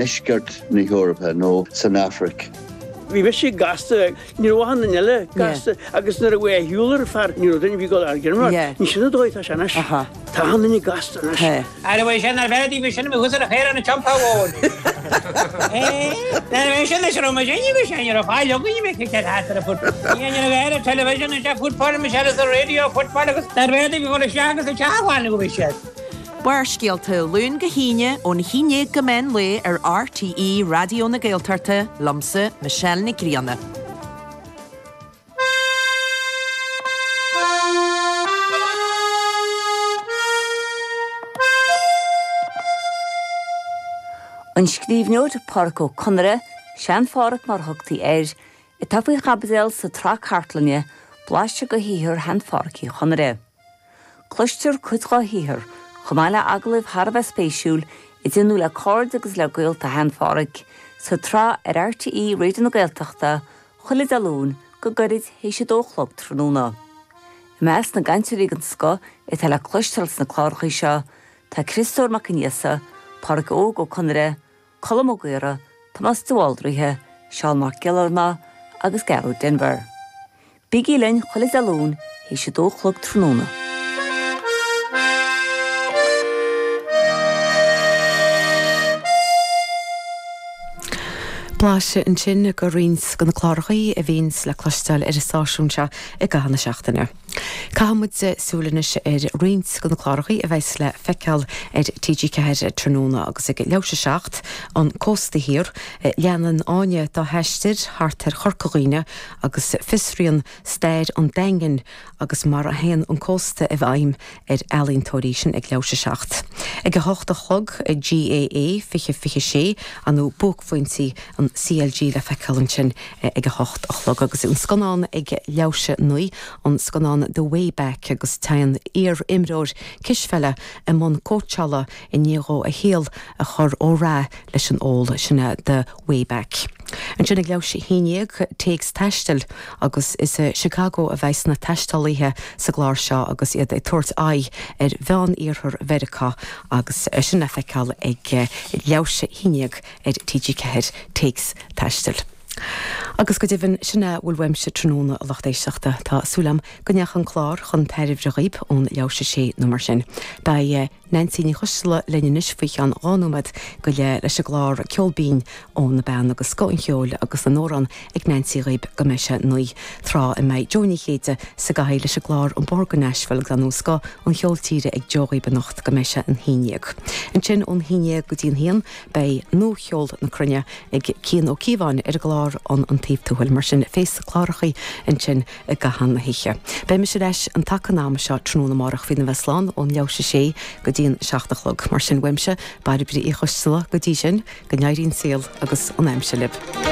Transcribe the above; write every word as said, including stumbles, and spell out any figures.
ndeisceart na hEorpa nó san Afraic. Bhí mise gasta ní raibh aon eile gasta agus nuair a bhí shiúlar fear ní raibh duine bhí go ar gin Ní sin dóigh tá sin Tá an duine gasta anois. Ar bh sin ar bheith bhí sin hus a chéir an champa bháin. sin is ro sin ar fáil mé television is football me se radio football agus ar bheith bhí go seach agus teáháin go bhí sé. Barrscéalta Luan go hAoine ón haon déag go meán lae ar RTÉ Raidió na Gaeltachta liomsa Michelle Nic Grianna. An scríbhneoir Pádraic Ó Conaire, Sean-Phádhraic mar thugtaí air, atá faoi chaibidil sa tsraith cartlainne blaiseadh de shaothar Shean-Phádhraic Uí Chonaire. Cloistear cuid dá shaothar, chomh maith le agallaimh thar a bheith spéisiúil a déanadh le cairde agus le gaolta Shean-Phádhraic, sa tsraith ar RTÉ Raidió na Gaeltachta, chuile Dé Luain go gairid théis a dó a chlog tráthnóna. I measc na gcainteoirí den scoth atá le cloisteáil sna cláracha seo, tá Criostóir Mac Aonghusa, Pádraic Óg Ó Conaire, Colm Ó Gaora, Tomás de Bhaldraithe, Seán Mac Giollarnáth agus Gearóid Denvir. Bígí linn chuile Dé Luain théis a dó a chlog tráthnóna. Blaiseadh ansin de roinnt de na cláracha a bhíonns le cloisteáil ar an stáisiún seo i gcaitheamh na seachtaine. Caithfimid súil anois ar roinnt de na cláracha a bheas le feiceáil ar TG Ceathair tráthnóna agus ag leathuair tar éis a seacht an Cósta Thiar, leanann Áine dá haistear thart ar Chorca Dhuibhne agus fiosraíonn stair an Daingin agus mar a théann an cósta i bhfeidhm ar ealaíontóirí sin ag leathuair tar éis a seacht. Ag a hocht a chlog GAA fiche fiche sé an buaicphointí an CLG le feiceáil ansin ag a hocht a chlog agus an scannán ag leathuair tar éis a naoi an scannán The Way Back agus téann iar-imreoir cispheile i mbun cóitseála i ndiaidh dó a shaol a chur ó rath leis an ól sin The Way Back. Ansin ag leathuair tar éis a haon déag téacs taistil agus is i Chicago a bheas na taistealaithe sa gclár seo agus iad ag tabhairt aghaidh ar mheán-iarthar Mheiriceá agus sin le feiceáil ag leathuair tar éis a haon déag ar TG Ceathair téacs taistil. Agus go deimhin sin a bhfuil uaimse tráthnóna a lucht éisteachta tá súil agam go ndeachaigh an clár chun tairbhe dhaoibh ón leathuair tar éis a sé nó mar sin. Beidh Nancy Ní Choisteala linn anois faoi cheann dhá nóiméad go leith leis an gclár Ceol Binn ó na Beanna agus scoth an cheoil agus na n-amhrán ag Nancy dhaoibh go mbeidh sé naoi tráth a mbeidh Joe Ní Chéide sa gcathaoir leis an gclár An Bóthar go Nashville agus nó scoth an cheoil tíre ag Joe dhaoibh anocht go mbeidh sé an haon déag. Ansin ón haon déag go dtí an haon beidh nuacheol na cruinne ag Cian Ó Cíobháin ar an gclár an an taobh tuathail mar sin fés na clárachaí ansin i gcaitheamh na hoíche. Beidh mise ar ais an taca an ama seo tráthnóna amárach faoina bheith slán ón leathuair tar éis a sé go dtí an seacht a chlog. Mar sin uaimse Bairbre Uí Choisteala go dtí sin go n-éirí an saol agus an aimsir libh.